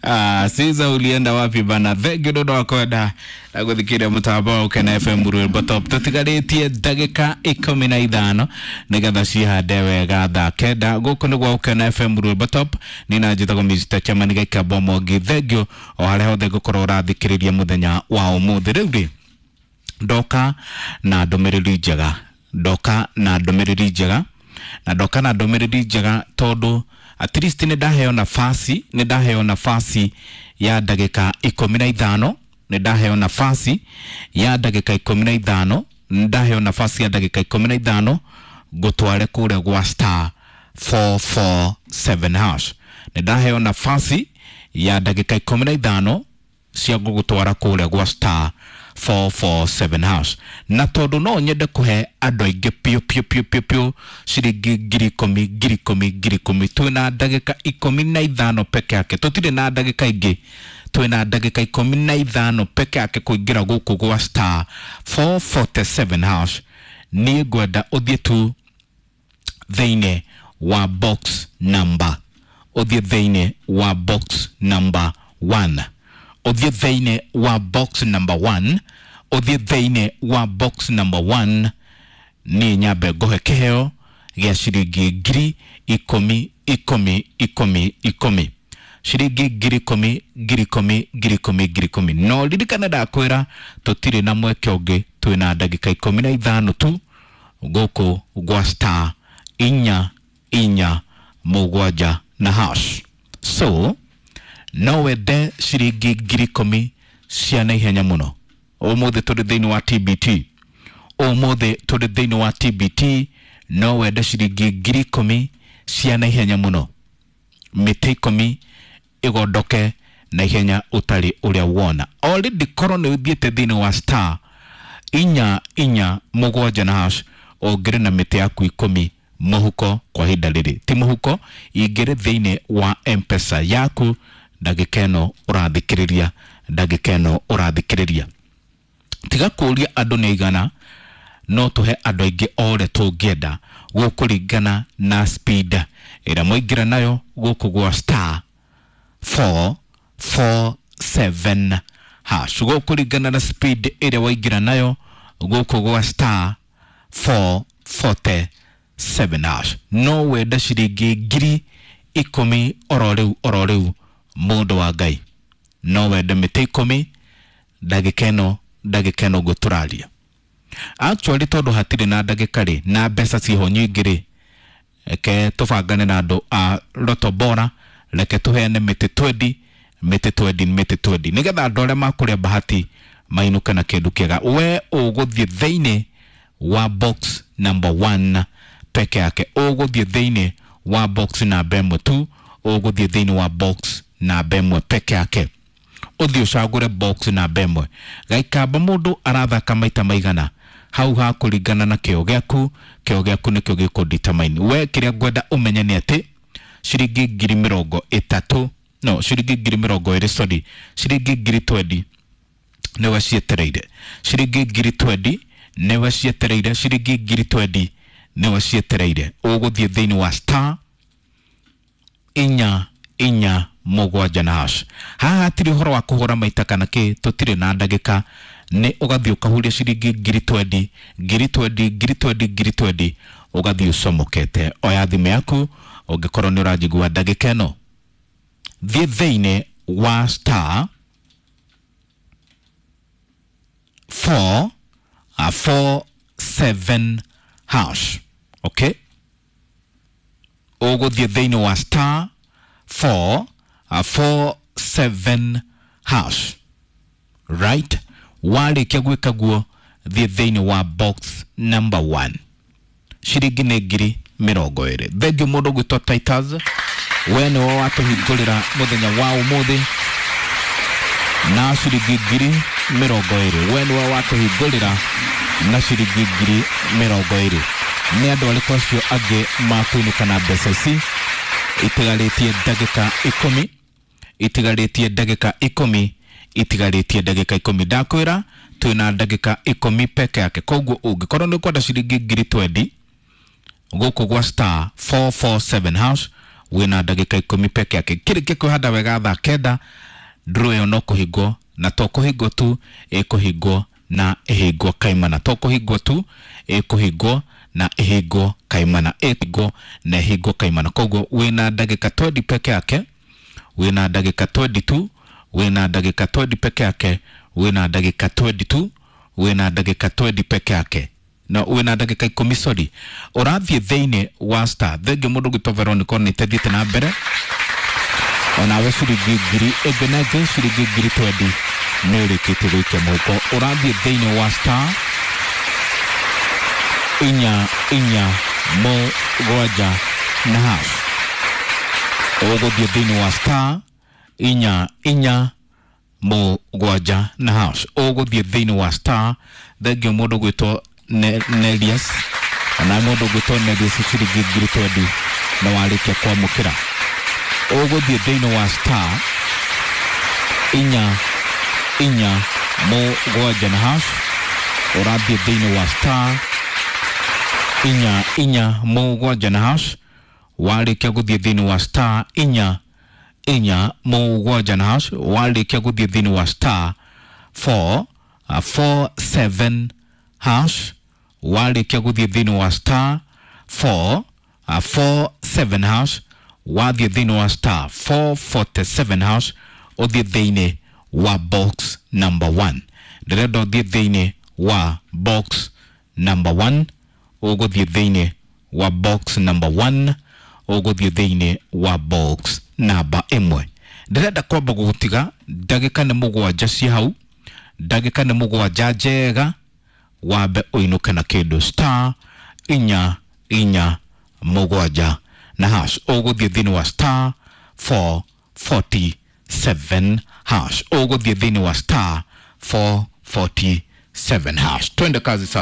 Ah, Caesar ulienda wapi bana? Thank you nĩ ũndũ wa kwenda na gũthikĩrĩria mũtambo wa Ũkena FM rwĩmbo top. Tũtigarĩtie ndagĩka 15 nĩgetha cihande wega thaa 9. Gũkũ nĩ gwa Ũkena FM rwĩmbo top. Nĩ na njĩtagwo Mr. Chairman Gĩkamba Mwangi. Thank you o harĩa hothe ngũkorwo ũrathikĩrĩria mũthenya wa ũmũthĩ. Rĩu rĩ, ndoka na ndũmĩrĩri njega, ndoka na ndũmĩrĩri njega, na ndoka na ndũmĩrĩri njega tondũ at least nĩ ndaheo nafasi, nĩ ndaheo nafasi ya ndagĩka 15, nĩ ndaheo nafasi ya ndagĩka 15, nĩ ndaheo nafasi ya ndagĩka 15 ngũtware kũrĩa gwa star 447 hash. Nĩ ndaheo nafasi ya ndagĩka 15 cia gũgũtwara kũrĩa gwa star 447 hash, na tondũ no nyende kũhe andũ aingĩ piũ piũ piũ piũ piũ ciringi 10,000 10,000 10,000. Twĩna ndagĩka 15 peke yake, tũtirĩ na ndagĩka ingĩ, twĩna ndagĩka 15 peke yake kũingĩra gũkũ gwa star 447 hash. Niĩ ngwenda ũthiĩ tu thĩinĩ wa box number, ũthiĩ thĩinĩ wa box number 1, ũthiĩ thĩinĩ wa box number 1, ũthiĩ thĩinĩ wa box number 1. Niĩ nyambe ngũhe kĩheo gĩa ciringi 10,000 10 10 10, ciringi 10,000 10,000 10,000 10,000. No ririkane ndakwĩra tũtirĩ na mweke ũngĩ, twĩna ndagĩka 15 tu gũkũ gwa star 447 na hash. So no wende ciringi 10,000 cia naihenya mũno ũmũthĩ tũrĩ thĩinĩ wa TBT, ũmũthĩ tũrĩ thĩinĩ wa TBT. No wende ciringi 10,000 cia naihenya mũno, mĩtĩ 10 ĩgondoke na ihenya ũtarĩ ũrĩa wona. Already korwo nĩ ũthiĩte thĩinĩ wa star 447 na hash, ũngĩrĩ na mĩtĩ yaku 10 mũhuko kwa ihinda rĩrĩ, ti mũhuko, ingĩrĩ thĩinĩ wa M-Pesa yaku ndagĩka ĩno ũrathikĩrĩria, ndagĩka ĩno ũrathikĩrĩria. Tiga kũũria andũ nĩ aigana, no tũhe andũ aingĩ o ũrĩa tũngĩenda gũkũringana na speed ĩrĩa mwaingĩra nayo gũkũ gwa star 447 hash, gũkũringana na speed ĩrĩa waingĩra nayo gũkũ gwa star 447 hash. No wende ciringi 10,000 oro rĩu oro rĩu, mũndũ wa Ngai, no wende mĩtĩ 10 ndagĩka ĩno, ndagĩka ĩno ũguo tũraria. Actually tondũ hatirĩ na ndagĩka rĩ, na mbeca ciho nyingĩ rĩ, reke tũbangane na andũ a Lotto Bora, reke tũheane mĩtĩ 20, mĩtĩ 20, mĩtĩ 20, nĩgetha andũ arĩa makũrĩa bahati mainũke na kĩndũ kĩega. We ũgũthiĩ thĩinĩ wa box number 1 peke yake, ũgũthiĩ thĩinĩ wa box namba 1 tu, ũgũthiĩ thĩinĩ wa box namba 1 peke yake, ũthiĩ ũcagũre box namba 1. Gaikamba mũndũ arathaka maita maigana hau hakũringana na kĩo gĩaku, kĩo gĩaku nĩkĩo gĩkũ determine. We kĩrĩa ngwenda ũmenye nĩ atĩ ciringi 30,000, no ciringi 20,000, sorry, ciringi 20,000 nĩwe cietereire, ciringi 20,000 nĩwe cietereire, ciringi 20,000 nĩwe cietereire. Ũgũthiĩ thĩinĩ wa star 447 na hash. Haha hatirĩ ũhoro wa kũhũra maita kana kĩ, tũtirĩ na ndagĩka, nĩ ũgathiĩ ũkahuria ciringi 20,000 20,000 20,000 20,000, ũgathiĩ ũcomokete. Oya thimũ yaku ũngĩkorwo nĩ ũranjigua ndagĩka ĩno, thiĩ thĩinĩ wa star 4 4 7 hash. Okay, ũgũthiĩ thĩinĩ wa star 4 4 7 hash, right? Warĩkia gwĩka guo, thiĩ thĩinĩ wa box number 1, ciringi nĩ 20,000. Thengiũ mũndũ ũgwĩtwo Titus, we nĩwe watũhingũrĩra mũthenya wa ũmũthĩ na ciringi 20,000. We nĩwe watũhingũrĩra na ciringi 20,000. Nĩ andũ arĩkũ acio angĩ makũinũka na mbeca ici? Itigarĩtie ndagĩka 10, itigarĩtie ndagĩka 10, itigarĩtie ndagĩka 10. Ndakwĩra twĩna ndagĩka 10 peke yake, koguo ũngĩkorwo nĩ ũkwenda ciringi 20,000 gũkũ gwa star 447 hash, Wĩna ndagĩka 10 peke yake. Kĩrĩkia kwĩhanda wega thaa 9, draw ĩyo no kũhingwo, na to kũhingwo tu, ĩkũhingwo na ĩhingwo kaimana. To kũhingwo tu, ĩkũhingwo na ĩhingwo kaimana, ĩhingwo na ĩhingwo kaimana. Koguo wĩna ndagĩka 20 peke yake, wĩna ndagĩka 22, wĩna ndagĩka 20 peke yake, wĩna ndagĩka 22, wĩna ndagĩka 20 peke yake, na wĩna ndagĩka 10, sorry. Ũrathiĩ thĩinĩ wa star. Thengiũ mũndũ gwĩtwo Veronica nĩ ĩtethiĩte na mbere onawe, ciringi ngiri ĩngĩ na ĩngĩ, ciringi ngiri 20 nĩ ũrĩkĩtie gũikia mũhuko. Ũrathiĩ thĩinĩ wa star 4 4 7 na hash. Ũgũthiĩ thĩinĩ wa star 4 4 7 na hash. Ũgũthiĩ thĩinĩ wa star. Thengiũ mũndũ gwĩtwo Nelius, ona mũndũ gwĩtwo Nelius, ciringi ngiri 20 na warĩkia kwamũkĩra. Ũgũthiĩ thĩinĩ wa star 4 4 7 na hash. Ũrathiĩ thĩinĩ wa star 4 4 7 na hash. Warĩkia gũthiĩ thĩinĩ wa star 4 4 7 na hash, warĩkia gũthiĩ thĩinĩ wa star 4 4 7 hash, warĩkia gũthiĩ thĩinĩ wa star 4 4 7 hash, wathiĩ thĩinĩ wa star 447 hash, ũthiĩ thĩinĩ wa box number 1. Ndĩrenda ũthiĩ thĩinĩ wa box number 1. Ũgũthiĩ thĩinĩ wa box number 1. Ũgũthiĩ thĩinĩ wa box namba 1. Ndĩrenda kwamba gũgũtiga ndagĩka nĩ 7 ci hau, ndagĩka nĩ 7 njega, wambe ũinũke na kĩndũ. Star 4 4 7 na hash. Ũgũthiĩ thĩinĩ wa star 447 hash. Ũgũthiĩ thĩinĩ wa star 447 hash. Twende kazi sasa.